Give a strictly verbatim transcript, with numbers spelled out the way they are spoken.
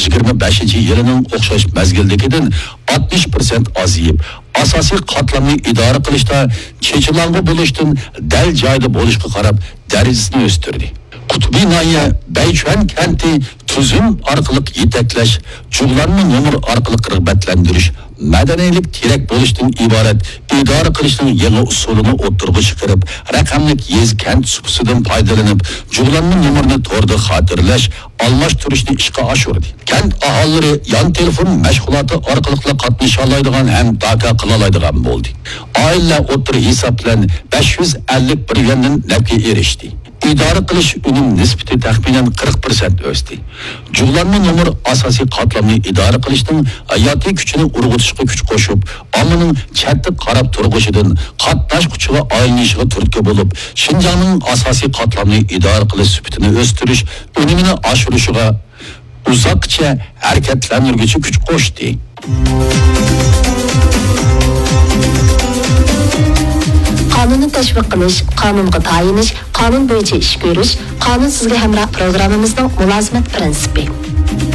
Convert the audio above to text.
يىگىرمە بەشىنچى يىلىنىڭ ئوخشاش مەزگىلدىكىدىن ئاتمىش پىرسەنت ئازىيىپ، ئاساسىي قاتلامنى ئىدارە قىلىشتا چېچىلاڭغۇ بولۇشتىن دەل جايىدا بولۇشقا قاراپ دەرىجىسىنى ئۆستۈردى. قۇتبى ناھىيە بەيچۈەن كەنتى تۈزۈم ئارقىلىق يېتەكلەش، جۇغلانما نومۇر ئارقىلىق رىغبەتلەندۈرۈش، مەدەنىيلىك تىرەك بولۇشتىن ئىبارەت ئىدارە قىلىشنىڭ يېڭى ئۇسۇلىنى ئوتتۇرىغا چىقىرىپ، رەقەملىك يېزا كەنت سۇپىسىدىن پايدىلىنىپ، جۇغلانما نومۇرنى توردا خاتىرىلەش، ئالماشتۇرۇشنى ئىشقا ئاشۇردى. كەنت ئاھالىلىرى يان تېلېفون مەشغۇلاتى ئارقىلىقلا قاتنىشالايدىغان ھەم داكا قىلالايدىغان بولدى. ئائىلىلەر ئوتتۇرا ھېساب بىلەن بەش يۈز ئەللىك بىر يۈەندىن نەپكە ئېرىشتى. ئىدارە قىلىش ئۈنۈم نىسبىتى تەخمىنەن قىرىق پىرسەنت ئۆستى. جۇغلانما نومۇر ئاساسىي قاتلامنى ئىدارە قىلىشنىڭ ھاياتىي كۈچىنى ئۇرغۇتۇشقا كۈچ قوشۇپ، ئاممىنىڭ چەتتە قاراپ تۇرغۇچىدىن قاتناشقۇچىغا ئايلىنىشىغا تۈرتكە بولۇپ، شىنجاڭنىڭ ئاساسىي قاتلامنى ئىدارە قىلىش سۈپىتىنى ئۆستۈرۈش، ئۈنۈمىنى ئاشۇرۇشىغا ئۇزاققىچە ھەرىكەتلەندۈرگۈچى كۈچ قوشتى. قانۇننى تەشۋىق قىلىش، قانۇنغا تايىنىش، قانۇن بويىچە ئىش كۆرۈش، قانۇن سىزگە ھەمراھ پروگراممىمىزنىڭ مۇلازىمەت پىرىنسىپى.